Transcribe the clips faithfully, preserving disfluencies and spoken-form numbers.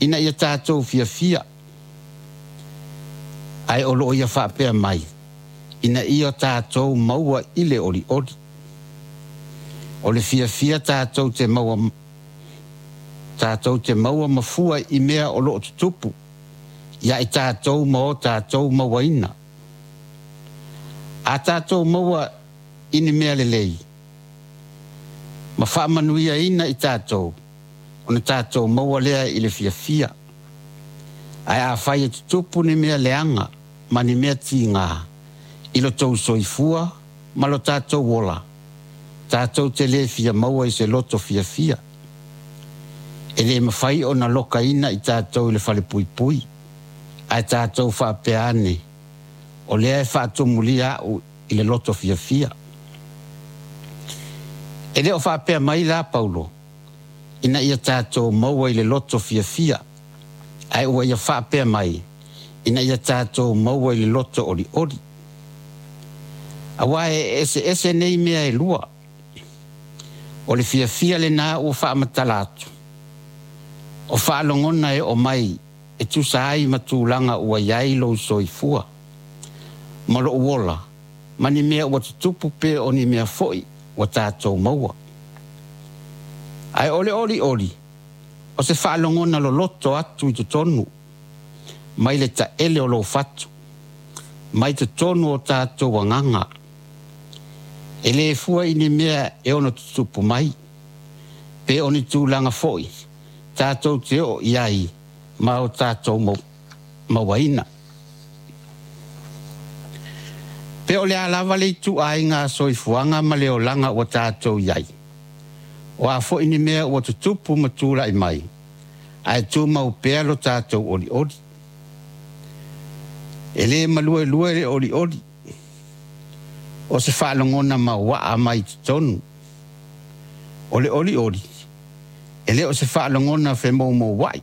ina ia tatou fiafia, ae o loo ia faapea mai, ina ia tatou maua i le olioli. O le fiafia tatou te maua tatou te maua ma fua i mea o loo tutupu ia i tatou ma o tatou mauaina. A tatou maua i ni mea lelei ma faamanuiaina i tatou, ona tatou maua lea i le fiafia. Ae afai e tutupu ni mea leaga ma ni mea tiga i lo tou soifua ma lo tatou ola, tatou te le fia maua i se loto fiafia. E le mafai ona lokaina i tatou i le falepuipui, ae tatou faapea ane, o lea e faatumulia au i le loto fiafia. E le o faapea mai la Paulo, ina ia tatou maua i le loto fiafia, ae ua ia faapea mai, ina ia tatou maua i le loto olioli. Aua e eseese nei mea e lua. O le fiafia lena ua faamatala atu, o faalogona e oo mai e tusa ai ma tulaga ua i ai lou soifua, ma lou ola, ma ni mea ua tutupu pe o ni mea foi ua tatou maua. Ae o le olioli, o se faalogona loloto atu i totonu, mai le taele o lou fatu, mai totonu o tatou agaga. E le fua i ni mea e ono tutupu mai, pe o ni tulaga foi tatou te oo i ai ma o tatou mauaina. Pe o le a lava le ituaiga soifuaga ma le olaga ua tatou i ai, o a foi ni mea ua tutupu ma tulai mai, ae tumau pea lo tatou olioli. E le maluelue le olioli, o se faalogona mauaa mai totonu. O le olioli, e le o se faalogona femoumouai.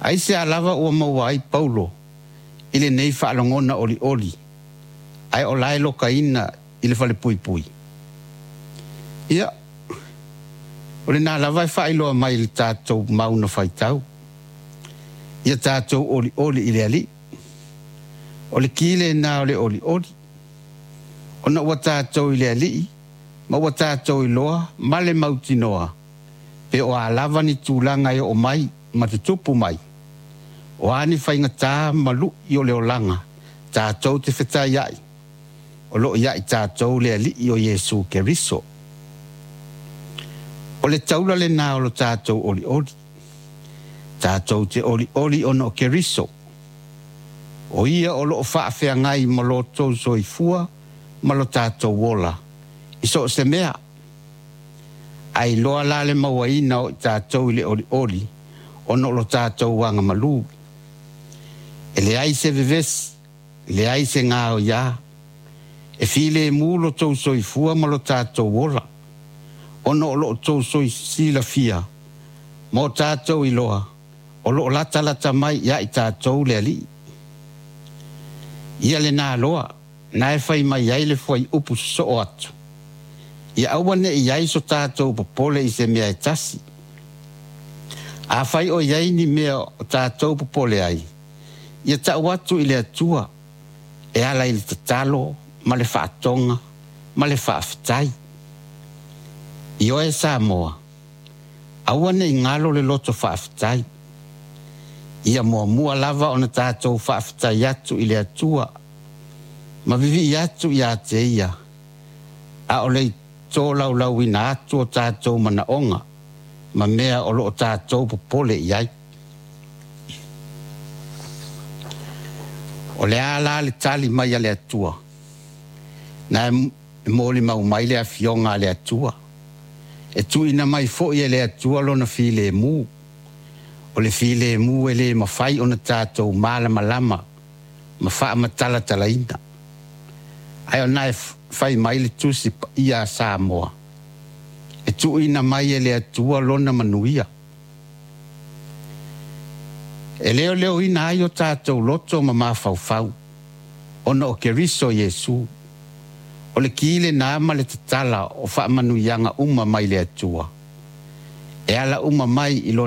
Aisea lava ua maua ai Paulo i lenei faalogona olioli, ae o la e lokaina i le falepuipui? Ia, o lena lava e faailoa mai i le tatou mauna faitau. Ia tatou olioli i le Alii. O le ki lena o le olioli, ona ua tatou i le Alii ma ua tatou iloa ma le mautinoa, pe o a lava ni tulaga e oo mai ma tutupu mai, o a ni faigata ma lui o le olaga tatou te fetaiai, o loo ia i tatou le Alii o Iesu Keriso. O le taula lena o lo tatou olioli. Tatou te olioli ona o Keriso. O ia o loo faafeagai ma lo outou soifua ma lo tatou ola i so o se mea. Ae iloa la le mauaina o i tatou i le olioli ona o lo tatou agamalu. E leai se vevesi, leai se gaoiā, e filemu lo tou soifua ma lo tatou ola, ona o lo outou silafia ma o tatou iloa, o loo latalata mai ia i tatou le Alii. Ia lena loa, na e fai mai ai le fuaiupu sosoo atu, ia aua ne i ai so tatou popole i se mea e tasi. Afai o i ai ni mea o tatou popole ai, ia tau atu i le Atua e ala i le tatalo ma le faatoga ma le faafetai. Ioe Samoa, aua ne i galo le loto faafetai. Ia muamua lava ona tatou faafetai atu i le Atua ma vivii atu ia te ia, a o le tolaulauina atu o tatou manaoga ma mea o loo tatou popole i ai. O le a la le tali mai a le Atua, na e molimau mai le afioga a le Atua, e tuuina mai foi e le Atua lona filemu. O le filemu e le mafai ona tatou malamalama ma faamatalatalaina. Ae ona e fai mai le tusi paia a Samoa, e tuuina mai e le Atua lona manuia. E leoleoina ai o tatou loto ma mafaufau, ona o Keriso Iesu. O le ki lena ma le tatala o faamanuiaga uma mai le Atua, e ala uma mai i lona